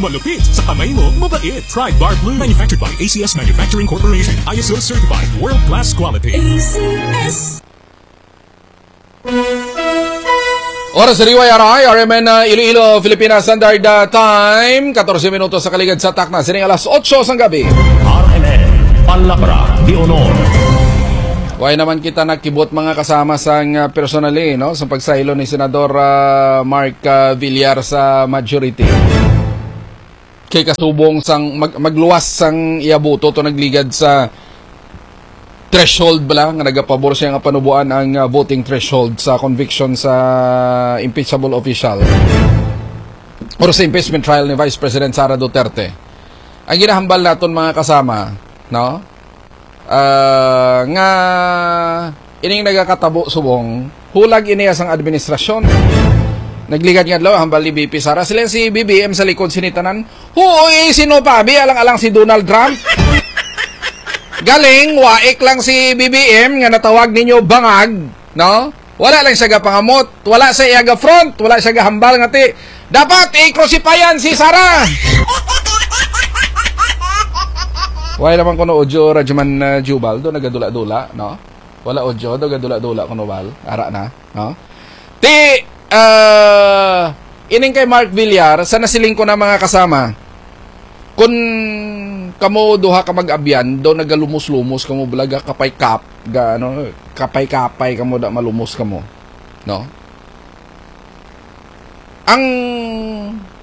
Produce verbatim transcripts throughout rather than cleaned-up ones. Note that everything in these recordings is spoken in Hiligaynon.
Malupit sa kamay mo, mabait. Pride Bar Blue. Manufactured by A C S Manufacturing Corporation. I S O certified. World class quality. A C S. Oras sa D Y R I, R M N, uh, Iloilo, Filipina Standard, uh, Time. Katorse minutos sa kaligad sa takna. Sining alas otso sang gabi. R M N, Palabra de Honor. Why naman kita nakibot, mga kasama, sang, uh, personally, no? Sa pagsaylo ni Senador, uh, Mark, uh, Villar sa majority. Kay kasubong sang mag-, magluwas sang iya boto to nagligad sa threshold bala nga nagapabor siya nga panubuan ang, uh, voting threshold sa conviction sa impeachable official or sa impeachment trial ni Vice President Sara Duterte. Ang ginahambal naton, mga kasama, no? Ah, nga ining nagakatabo subong hulag ini sang administrasyon. Nagligad nga adlaw, hambal ni V P Sara, sila si B B M sa likod sini tanan. Huoy, sino pa? Abi, alang-alang si Donald Trump. Galing, waik lang si B B M nga natawag ninyo bangag, no? Wala lang siya gapangamot, wala siya iya ga-front, wala siya gahambal nga ti, "Dapat i-crucifian si Sara." Wala naman kuno audio, Radyoman, uh, Jubal, do nagadula-dula, no? Wala audio, do gadula-dula kuno, Bal. Ara na, no? Ti, uh, ining kay Mark Villar, sa nasiling ko na, mga kasama, kun kamo duha ka mag-abyan, do nagalumos-lumos kamo, bala, ga kapay-kap, ga, ano, kapay-kapay kamo, da malumos kamo, no? Ang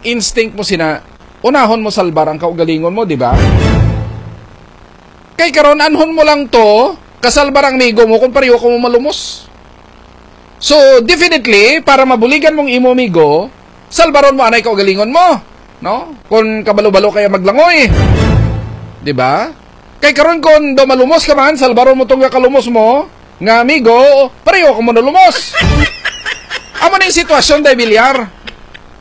instinct mo sina, unahon mo salbar ang kaugalingon mo, di ba? Kay karon, anhon mo lang to, kasalbar ang amigo mo kung pareho kamo malumos. So, definitely, para mabuligan mong imo amigo, salbaron mo anay kaugalingon mo, no? Kung kabalo-balo kaya maglangoy. Di ba? Kay karon, kung do malumos ka man, salbaron mo tong kalumos mo nga amigo, pareho kamo nalumos. Amo na yung sitwasyon, day Villar,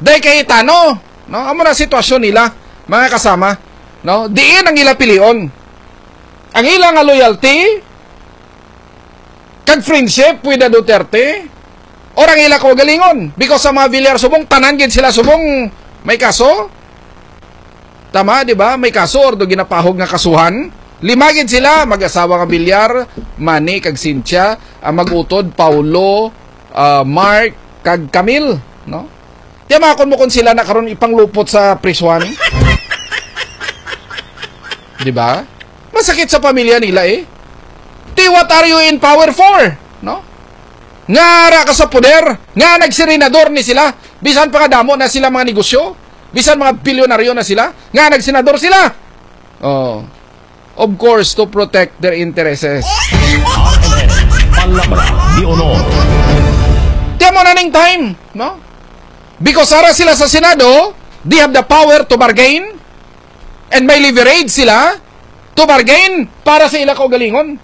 day Cayetano, no? Amo na sitwasyon nila, mga kasama, no? Diin ang ila pilion? Ang ila nga loyalty kag friendship with the Duterte, or ang ila kaugalingon? Because sa mga Villar subong, tanan gid sila subong may kaso. Tama, di ba? May kaso or do ginapahog nga kasuhan. Lima gid sila, mag-asawa nga Villar, Manny kag Cynthia, ang mag-utod, Paulo, ah, Mark, kag Camille, no? Tiyamakon mo kung sila na karon ipanglupot sa prisuhan. Di ba? Masakit sa pamilya nila, eh. Ti, what are you in power for? No? Nga ara ka sa poder, nga nagsirinador ni sila, bisan pa nga damo na sila mga negosyo, bisan mga bilyonaryo na sila, nga nagsenador sila. Oh. Of course, to protect their interests. Palabra de honor. Tiyan mo na ning time, no? Because ara sila sa Senado, they have the power to bargain and may leverage sila to bargain para sa ila kaugalingon.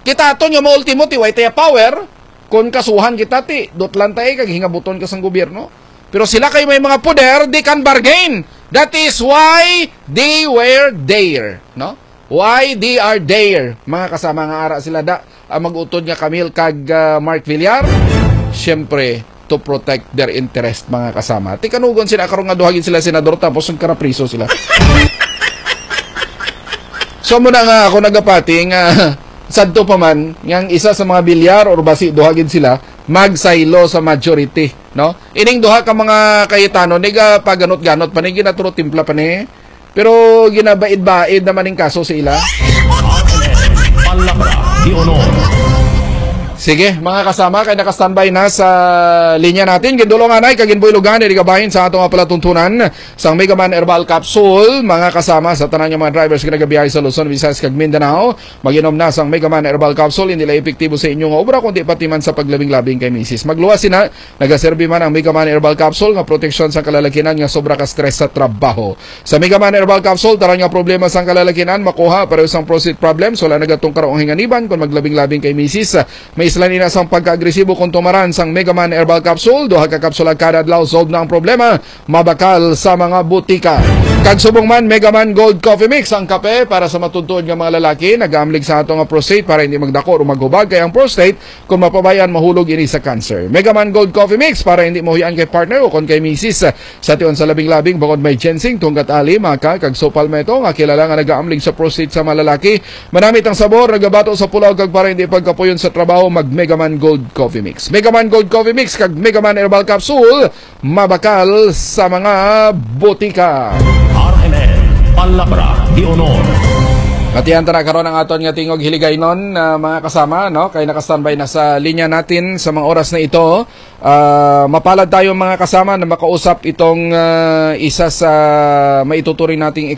Kita aton nga maultimo ti way taya power, kung kasuhan kita ti, dutlan tayo kag hingabuton ka sang gobyerno. Pero sila kay may mga poder, they can bargain. That is why they were there, no? Why they are there, mga kasama, nga ara sila da, ang mag-utod nga Camille kag, ah, Mark Villar? Siyempre, to protect their interest, mga kasama. Ti kanugon sila karon nga duha gid sila senador tapos nagkarapriso sila. So, muna nga ako nagapati nga sadto pa man nga ang isa sa mga Villar or basi duha gid sila magsaylo sa majority, no? Ining duha ka mga Cayetano, niga paganot-ganot pa ni, ginaturo timpla pa ni. Pero ginabaid-baid naman ning kaso sa ila. Palabra de honor. Sige, mga kasama, kay naka-standby na sa linya natin. Gindulong anay, kag ginbuilugan, iligabahin sa ato nga palatuntunan sang Mega Man Herbal Capsule. Mga kasama, sa tanan nga mga drivers nga nagabiyahe sa Luzon, Visayas, kag Mindanao, mag-inom na sang Mega Man Herbal Capsule. Hindi lang epektibo sa inyo nga obra, kundi pati man sa paglabing-labing kay misis. Magluwas sina, nagaserbi man ang Mega Man Herbal Capsule nga proteksyon sa kalalakinan nga sobra ka stress sa trabaho. Sa Mega Man Herbal Capsule, tanan nga problema sang kalalakinan makuha, pareho sang prostate problems, wala nagatungkar ang hinganiban kon maglabing-labing kay misis. May Islan ina sang pagkaagresibo kung tumaran sang Megaman Herbal Capsule, duha ka kapsula kada adlaw, solve na ang problema, mabakal sa mga butika. Kag subong man, Megaman Gold Coffee Mix, ang kape para sa matutuod nga mga lalaki, nagaamlig sa ato nga prostate para hindi magdako o maghubag, kay ang prostate, kung mapabayan, mahulog ini sa cancer. Megaman Gold Coffee Mix para hindi mahuyan kay partner o kon kay misis. Sa tion sa labing-labing, bangod may ginseng, tunggat ali, maca, kag saw palmetto nga kilala nga nagaamlig sa prostate sa mga lalaki. Manamit ang sabor, nagabato sa pulaw, kag para hindi pagkapuyon sa trabaho, mag Megaman Gold Coffee Mix. Megaman Gold Coffee Mix kag Megaman Herbal Capsule, mabakal sa mga botika. R M N, Palabra de Honor. At yan, tara karon ang aton nga tingog hiligaynon, ah, mga kasama, no? Kay naka-standby na sa linya natin sa mga oras na ito. Ah, mapalad tayo, mga kasama, na makausap itong, ah, isa sa maituturing nating